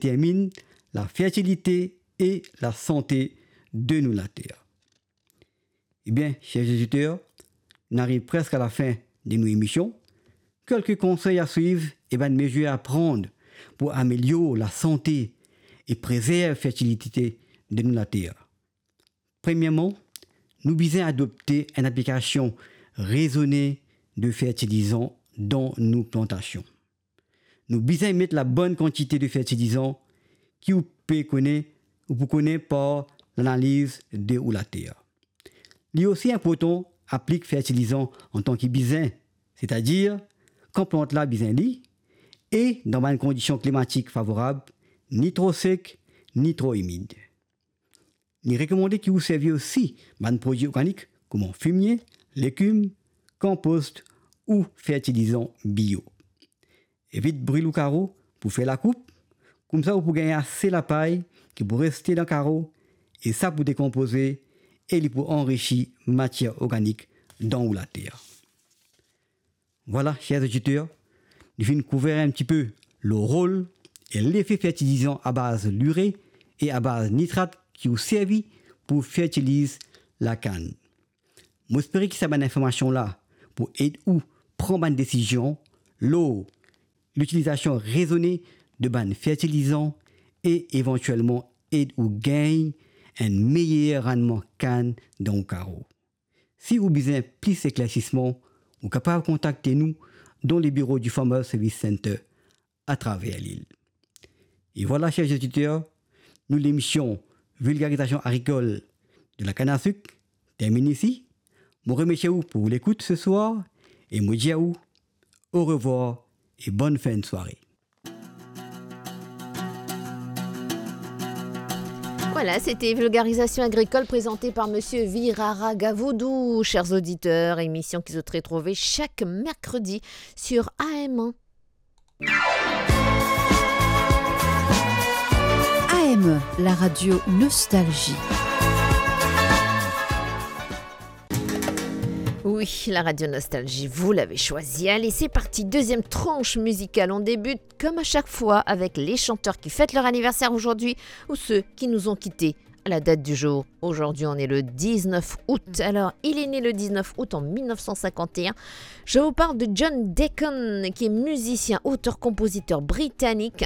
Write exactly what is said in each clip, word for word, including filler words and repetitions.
determinn lafertilite e lasante de nou later. Ebien, ser zoditer, nou ariv preske a lafin de nou emision. Kelke konsey a swiv e bann mezir a pran pou amelior lasante e prezerv fertilite de nou later. Premierman, nou bizin adopte enn aplikasion rezone de fertilizan dan nou plantasion. Nou bizin met labonn kantite de fertilizan ki ou pe kone, ou pou kone par lanaliz de ou later. Li osi inportan aplik fertilizan antan ki bizin, setadir kan plant la bizin li, e dan bann kondision klimatik favorab, ni tro sek, ni tro imid. Li rekomande ki ou servi osi bann prodwi organik kouma fimie, legim, konpost ou fertilizan bio. Evit bril ou karo pou fer lakoup, koumsa ou pou gagn ase lapay ki pou reste dan karo e sa pou dekonpoze e li pou anrisi matier organik dan ou later. Vwala, ser zoditer, nou finn kouver enn tipe lor rol e lefe fertilizan a baz lire e a baz nitrat ki ou servi pou fertiliz lakann. Mo espere ki sa bann informasion la pou ed ou pran bann desizion lor litilizasion rezone de bann fertilizan e evantielman ed ou gagn enn meyer rannman kann dan ou karo. Si ou bizin plis eklersisman, ou kapav kontakte nou dan lebiro di Farmers Service Centre atraver lil. E vwala, ser zoditer, nou lemision Vilgarizasion agrikol de la kann a sik terminn isi. Mo remersie ou pou lekout seswar e mo dir a ou orevwar e bonn fin de sware. Voilà, c'était Vulgarisation agricole présentée par Monsieur Virara Gavoudou. Chers auditeurs, émission ki zot retrouve chaque mercredi sur A M un. A M un, la radio Nostalgie. Oui, la radio Nostalgie, vous l'avez choisi. Allez, c'est parti, deuxième tranche musicale. On débute, comme à chaque fois, avec les chanteurs qui fêtent leur anniversaire aujourd'hui ou ceux qui nous ont quittés à la date du jour. Aujourd'hui, on est le dix-neuf août. Alors, il est né le dix-neuf août en mille neuf cent cinquante et un. Je vous parle de John Deacon, qui est musicien, auteur, compositeur britannique,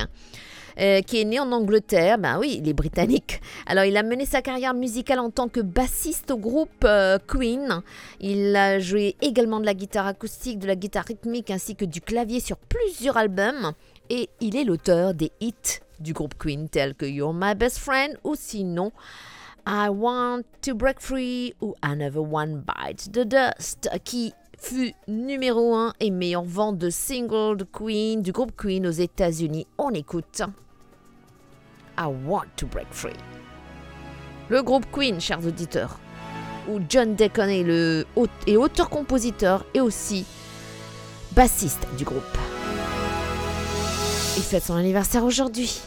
euh, qui est né en Angleterre. Ben oui, il est britannique. Alors, il a mené sa carrière musicale en tant que bassiste au groupe, euh, Queen. Il a joué également de la guitare acoustique, de la guitare rythmique ainsi que du clavier sur plusieurs albums. Et il est l'auteur des hits du groupe Queen tels que You're My Best Friend ou sinon I Want to Break Free ou Another One Bites the Dust, qui fut numéro un et meilleure vente de single de Queen, du groupe Queen aux États-Unis. On écoute I Want to Break Free. Le groupe Queen, chers auditeurs, où John Deacon est le aut-, est auteur-compositeur et aussi bassiste du groupe. Il fête son anniversaire aujourd'hui.